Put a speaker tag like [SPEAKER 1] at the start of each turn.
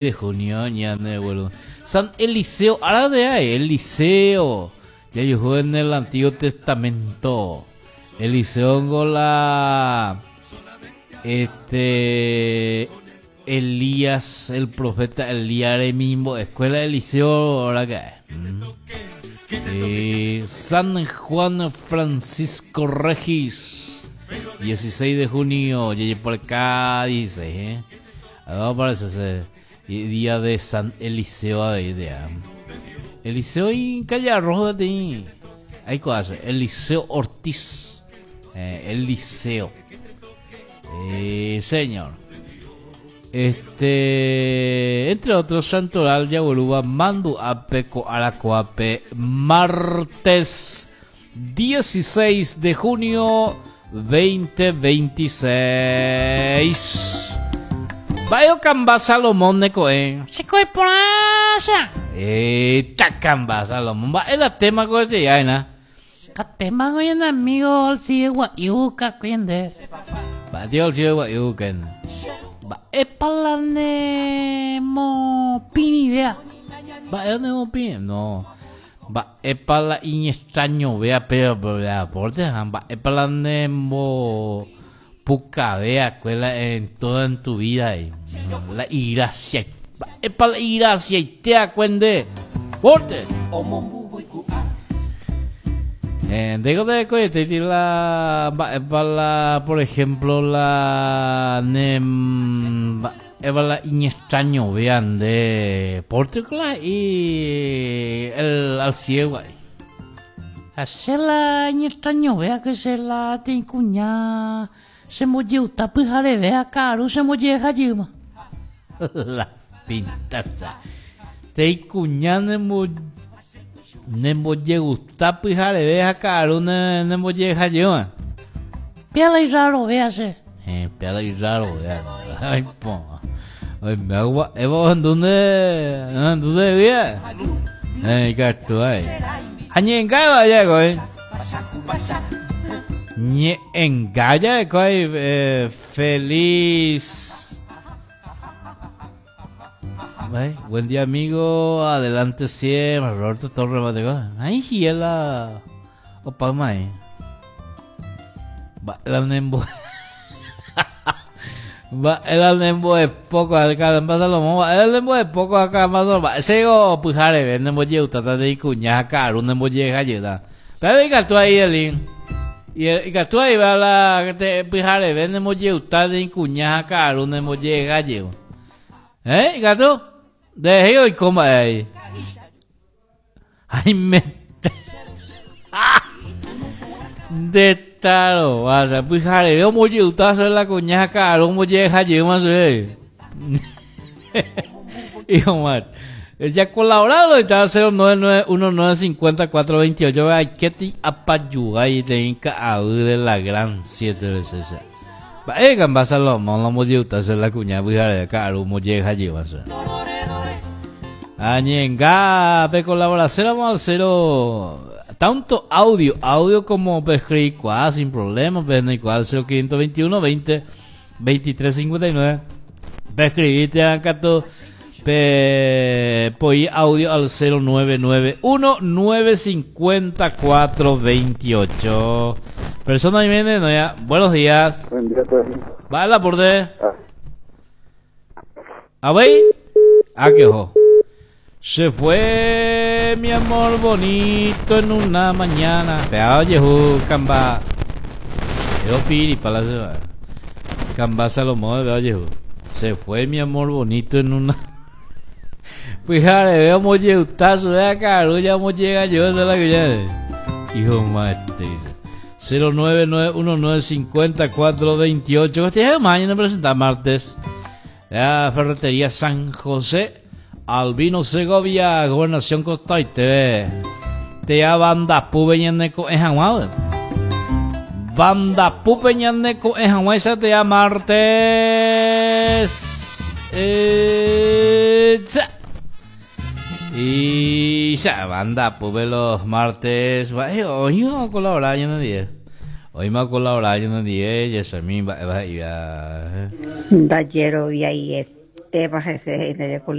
[SPEAKER 1] De junio ñane vuelvo. San Eliseo, ahora de ahí, Eliseo. Ya yo en el Antiguo Testamento. Eliseo con la este Elías, el profeta Elías de mismo escuela de Eliseo, ahora que eh, San Juan Francisco Regis, 16 de junio, llegué por acá, dice, ¿eh? Aparece ese día de San Eliseo ahí de Eliseo y Calle Rojo de Ahí cosa, Eliseo Ortiz. Eh, Eliseo. Eh, señor. Este, entre otros, Santoral, Yaguruba, Mandu, Ape, Coaracoape, martes 16 de junio 2026. Vaya Camba Salomón de Coe.
[SPEAKER 2] Se coe por asa.
[SPEAKER 1] Eh, Camba Salomón. Va el tema con este ya, ¿no?
[SPEAKER 2] Tema con amigo al sigue yuca cuende.
[SPEAKER 1] Va tío al sigue yuca.
[SPEAKER 2] Va epalane mo pini vea.
[SPEAKER 1] Va es mo pini. No. Va epala extraño vea pero vea porte va epalane mo puca vea escuela en toda en tu vida y la gracia es para la gracia y te acuende porte eh, digo de coyete la la por ejemplo la nem la extraño vean de Portugal y el al ciego ahí.
[SPEAKER 2] Hacer la extraño vea que se la cuña se molleuta pyhare vea caro se molleja yuma.
[SPEAKER 1] La pintaza. Te cuña nemo nemo gusta pyhare vea caro ne ne molleja yuma.
[SPEAKER 2] Piala y raro véase.
[SPEAKER 1] Eh, piala y raro vea. Ay, po. Ay, me hago Evo ¿dónde dónde vía? Eh, gato ay. Hañenga vaya güey. Ñe'engaya eh, feliz. Ay, buen día amigo, adelante siempre, Roberto Torres Mateo. Ay, hiela. Opa mai. Va la nembo. Va el nembo es poco acá en Salomón, va el nembo es poco acá en va. Sego pujare, nembo yeuta ta de cuña caro, nembo llega yeda. Pero venga tú ahí el y ikatu ahí va la te pyhare ne mojeuta de cuña karu ne molleja llevo. ¿Eh? Ikatu? De ahí hoy coma ahí. Ay, me de taro, vaya, pyhare veo mojeuta hacer la cuña karu molleja llevo más eh. Hijo man. Ya colaborado está 099 1954 28 ay que apayuga y te inca de la gran 7 veces. Va eh gamba Salomón la molleuta hacer la cuña de karu molleja lleva. Añenga, pe colaboración vamos al cero tanto audio, audio como pe sin problema, pe no igual 0521 20 23 59. Pe escribite acá todo Pe poi audio al 0991 954 28. Persona Jiménez, no ya. Buenos días.
[SPEAKER 3] Buen día, pues.
[SPEAKER 1] Va la por de. A ver. Ah, qué ojo. Se fue mi amor bonito en una mañana. Vea, oye, camba. Yo piri para la Camba Salomón, vea, oye, Se fue mi amor bonito en una. Pues jare, veo molleutazo, vea caro, ya llega yo, esa es la que ya. Hijo mate, dice. 099195428. Este es mañana presenta martes. La Ferretería San José, Albino Segovia, Gobernación Costa y TV. Te banda pubeñaneco en Jaguar. Banda pupeñaneco en Jaguar, esa te martes. Y ya, banda, pues los martes. Hoy no a colaborar yo no día. Hoy me a colaborar yo no día, ya se me va a
[SPEAKER 4] Ndajero y
[SPEAKER 3] Avy'aitépa hese he'i ndaje.